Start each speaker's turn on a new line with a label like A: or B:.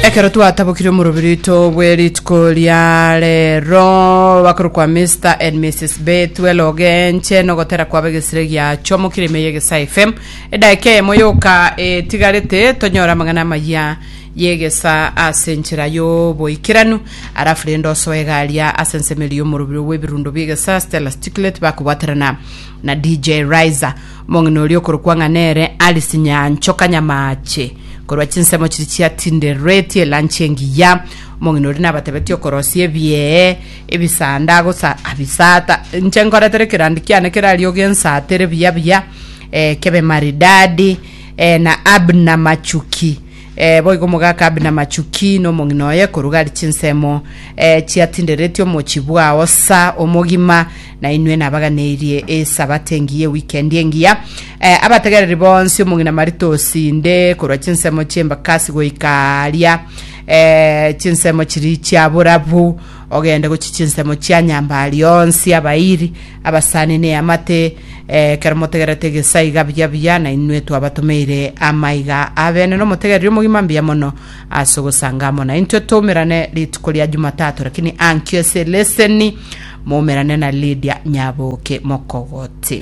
A: Ekero twatabokire omorobiri oito bwe rituko ria rero bakorokwa Mr and Mrs Bethuel Ogenche nogotera kwabo egesire giachomokire ime y'Egesaa FM edaika eyemo yoka etigarete tonyore amang'ana amayia y'egesaa ase enchera y'oboikeranu alafu rende osoe egaria ase ensemo eria y'omorobiri bw'ebirundo bi'egesaa Stella Sticklet bakobwaterana na DJ Riser Omong'ina oria okorokwa ng'a nere Alice Nyanchoka Nyamache, korwa chinsemo chiria chia Tindereti elanchi engiya. Omong'ina oria nabatebetie okorosia ebiee, ebisanda agosa abisata. Inche nkoretere ekerandi kiane keraria ogensatere buya buya, eh, kebe maridadi, eh, na Abner Machuki. Eh, boigo omogaka Abner Machuki na omong'ina oye korwa gari chinsemo eh, chia Tindereti omochie bwao sa omogima Na inwe nabaganeirie Esabato engiya, ewikendi engiya. Eh, abategereri bonsi omong'ina Marita osinde korwa chinsemo chi'embakasi goika aria eh, chinsemo chiria chia borabu, ogende gochia chinsemo chia nyambari onsi, abairi, abasani na eamate, eh, ekero motegererete egesa iga buya buya, na inwe twabatomeire amaiga abene na omotegereri omogima mbuya mono ase ogosanga amo naintwe toumerane rituko ria Jumatatu, lakini ankio ase eleseni Moumerane na Lydia Nyaboke Mokogoti.